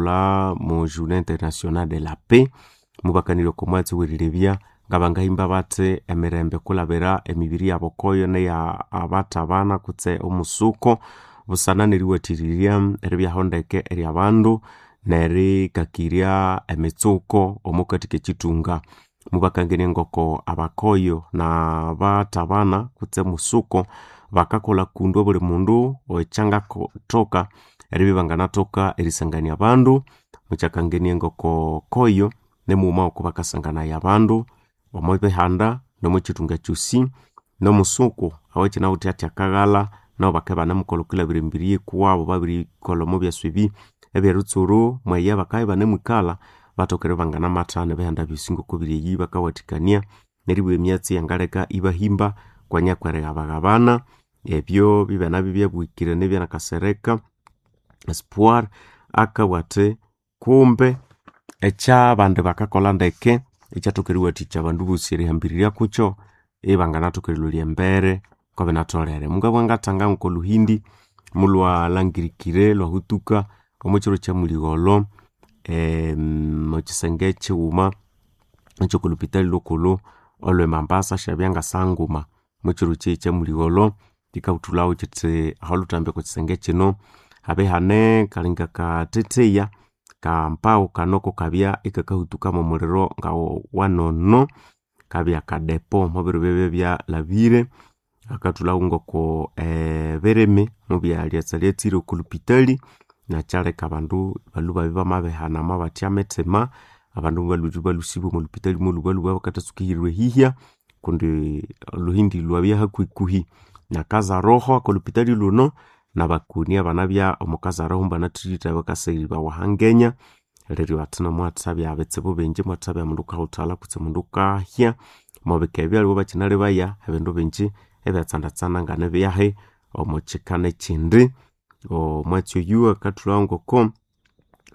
Bakathulha mu Journée Internationale de la Paix, mubakanirya oko mwatsi w'erilebya ngabangahimba bathi emirembe kulabira emibiri yabo koyo neya abathabana kutse omusuko busana neriwathirirya eribyaho ndeke ery'abandu nerikakirya emitsuko omukati k'ekithunga. Mubakangania ngoko abakoyo n'abathabana kutse omusuko bakakolha kundu obuli mundu ekyangatoka eribya ibanganathoka erisangania abandu. Mukyakangania ngoko koyo nimughuma ngoko bakasanganaya abandu omo bihanda n'omo kithunga kyosi n'omusuku owakinawithe athi akaghalha nabo bakabya ibanemukolha okwilhabira emibiri yikuwabo babirikolha omo byasi ebi eby'eritsuru mweya bakabya ibanemwikalha bathoke eribya ibanganamathana ebihanda byosi ngoko biri eyi bakawathikania neribugha emyatsi eyangaleka ibahimba kwanya kwerighabaghabana ebyo bibya byabuhikire nibya Espoir akabugha athi kumbe ekyabandi bakakolha ndeke ekyathoka eriwathikya abandu bosi erihambirirya kukyo ibanganathoka erilholya embere ngokubinatholere. Mungabugha ngathanga ngokoluhindi mulwalhangirikire lwahutuka omo kiro kyamuligholho omwakisenge kighuma ekyokolhupitali lhukulhu olwe Mombasa syabya ngasaha nguma omwakiro kyamuligholho kikabuthulhawu kithi aholuthambi okwa kisenge kino habya ihane kalinga kathetheya kampawu kano kukabya ikakahutuka mwomuliro ngawanono kabya kadepo mubiro byabya byalhabire akathulhawu ngoko ebirimi mubyalyatsalyatsire oko lhupitali nakyaleka abandu balhwe ibabya bamabihana mobatya mithima abandu mubalhwa ibalhusibwa omwa lhupitali molhubalhuba bakathatsuka erilhwa eyihya kundi olhuhindi lwabya hakuhikuhi nakazaroho oko lhupitali lhuno nabakoni abanabya omo kazaroho mubanathirire bakasaghibawa ahangenya neryo bathi nomwathabya bitsibu bingi imwathabya mundu wukahuthalha kutse mundu wukahya omwabika ebyo aliwe bakyinalebaya ebindu bingi ebyatsandatsanda nganibyahi omo kika nekyindi. Omwatsi oyu akathulhawo ngoko.